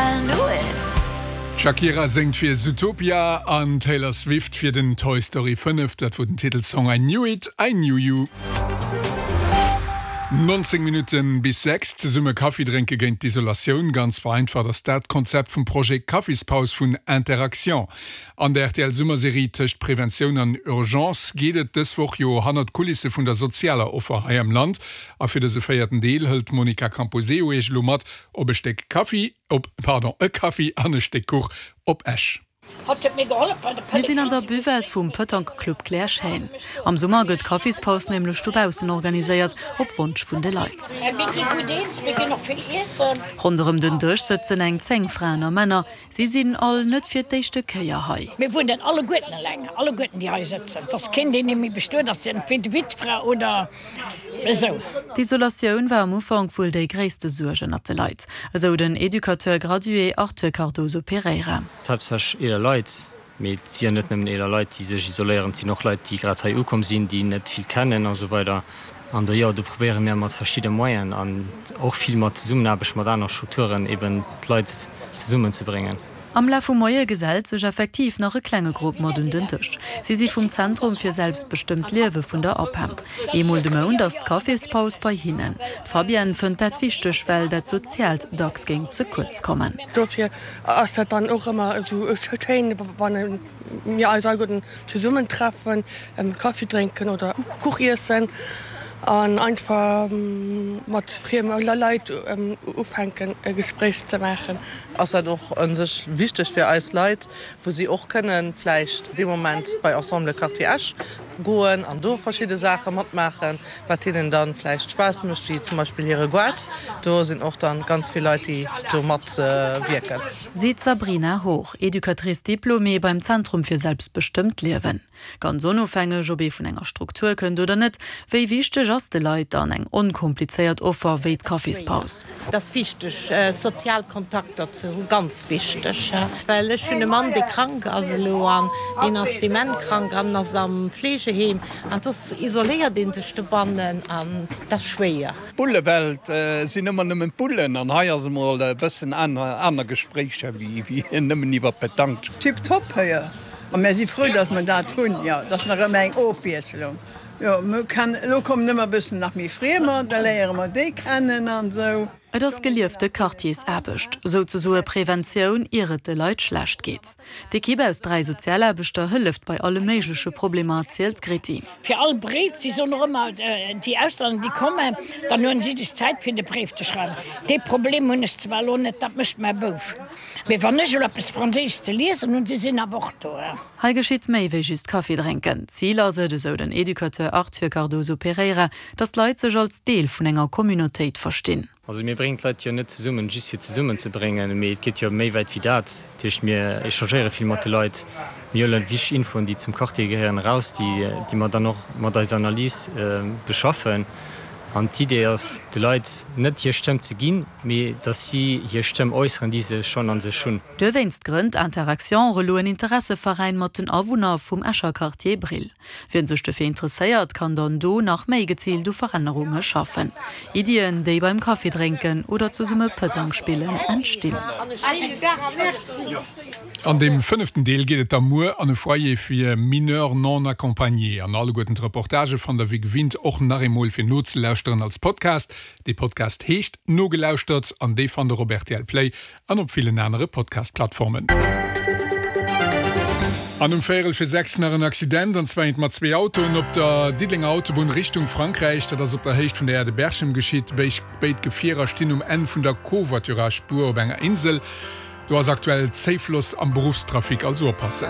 I knew it. D'Shakira séngt fir Zootopia an d'Taylor Swift fir den Toy Story 5. Dat wor den Titelsong I Knew It, I Knew You. 19 Minutte bis 6, Zesumme Kaffi drénke géint d'Isolatioun, ganz vereinfacht ass dat d'Konzept vum Projet Kaffispaus vun Interaction. An der RTL-Summerserie Tëscht Preventioun an Urgence geet et dës Woch jo hannert d'Kulisse vun der sozialer Offer hei am Land. A fir dëse véierten Deel hëlt d'Monica Camposeo iech elo mat op e Stéck Kaffi, op, pardon, e Kaffi an e Stéck Kuch op Esch. Mir sinn an der Buvette vum Petanque Club Claire Schéin. Am Summer gëtt d'Kaffispaus nämlech dobaussen organiséiert, op Wonsch vun de Leit. Ronderëm den Dësch sëtzen eng 10 Fraen a Männer. Si sinn all net fir d'éischte Kéier hei. Mir wunnen alleguerten eleng, alleguerten déi hei sëtzen. Et ass keen, deen méi bestuet ass, entweder Wittfra oder esou. D'Isolatioun war am Ufank wuel déi gréisste Suerg ënnert de Leit, esou den Educateur gradué Arthur Cardoso Pereira. Haaptsächlech eeler Leit, mee et si jo net nëmmen eeler Leit, déi sech isoléieren, et sinn och Leit, déi grad hei ukomm sinn, déi net vill kennen a sou weider. An do, jo, do probéiere mir mat verschidde Moyenen an och vill mat Zesummenaarbecht mat anere Strukturen eben d'Leit zesummenzebréngen. Am Laf vum Moie gesellt sech effektiv nach e klenge Grupp mat un den Dësch. Si si vum Zentrum fir selbstbestëmmt Liewe vun der APEM. Eemol de Mount ass d'Caféspaus bei hinnen. D'Fabienne fënnt dat wichteg, well dat Soziaalt dacks géing ze kuerz kommen. Dofir ass dat dann och ëmmer esou schéin, wann mir eis alleguerten zesummen treffen, Kaffi drénken oder Kuch iessen an einfach mat frieme Leit ufänken e Gespréich ze maachen. Ass dat och u sech wichteg fir eis Leit, wou si och kënnen vläicht dee Moment bei Ensemble Quartier Esch goen an do verschidde Saache matmaachen, wat hinnen dann vläicht Spaass mécht, wéi zum Beispill hire Goart. Do sinn och dann ganz vill Leit, déi do matwierken. Seet d'Sabrina Hoch, Educatrice diplômée beim Zentrum fir selbstbestëmmt Liewen. Ganz onofhängeg, ob ee vun enger Struktur kënnt oder net, wéi wichteg ass de Leit dann eng onkomplizéiert Offer wéi d'Kaffispaus? Et ass wichteg, sozial Kontakter ze hunn, ganz wichteg, well ech hunn e Mann, dee krank ass elo an deen ass dementkrank an ass am Fleegeheem an soss isoléiert ee sech dobannen an dat ass schwéier. D'Bullewelt sinn ëmmer nëmmen d'Bullen an hei ass emol e bëssen aner Gespréicher wéi nëmmen iwwer Petanque. Tip top héier a mär si frou datt mer dat hunn. Jo, et ass nach ëmmer eng Ofwiesselung. Jo, mir kann, elo kommen ëmmer e bëssen nach méi Friemer, da léiere mer déi kennen an esou. Et ass geliefte Quartiersaarbecht, souzesoe Preventioun, ier et de Leit schlecht geet. D'Ekipp aus 3 Sozialaarbechter hëlleft bei alle méigleche Problemer, erzielt d'Gritty. Fir all Bréif, si soen och ëmmer, déi Auslänner, déi kommen, dann hunn si sech Zäit fir de Bréif ze schreiwen. Dee Problem hunn ech zwar elo net, dat mécht mäi Bouf. Mee wann ech elo eppes Franséisches ze liesen hunn, si sinn awer och do. Hei geschitt méi wéi just Kaffi drénken. Zil ass et, esou den Educateur Arthur Cardoso Pereira, datt d'Leit sech als Deel vun enger Communautéit verstinn. Also mir bréngen d'Leit jo net zesummen, just fir zesummenzebréngen, mee et geet jo méi wäit wéi dat. Dat heescht, mir échangéiere vill mat de Leit, mir huele wichteg Infoen, déi zum Quartier gehéieren, eraus, déi déi mer dann och mat eiser Analys beschaffen. An d'Idee ass, de Leit net hir Stëmm ze ginn, mee datt si hir Stëmm äusseren, déi se schonn a sech hunn. Duerwéinst grënnt Interaction och elo en Interesseveräin mat den Awunner vum Escher Quartier Brill. Wien sech dofir interesséiert, kann dann do nach méi geziilt u Verännerunge schaffen. Iddien, déi beim Kaffi drénken oder zesumme Pëtang spillen entstinn. An deem fënneften Deel geet et da muer an e Foyer fir Mineurs non accompagnés. An alleguerten d'Reportagë fannt der wéi gewinnt och nach eemol fir nozelauschteren als Podcast. Dee Podcast heescht Nogelauschtert an dee fannt der op rtl Play An op villen anere Podcast-Plattformen. An um véierel fir 6 nach en Accident, an zwar eent mat zwee Autoen op der Diddelenger Autobunn Richtung Frankräich. Dat ass op der Héicht vun der Aire de Berchem geschitt. Béid Gefierer stinn um Enn vun der Covoiturage-Spuer op enger Insel. Do ass aktuell Zéifloss am Beruffstrafic, also oppassen.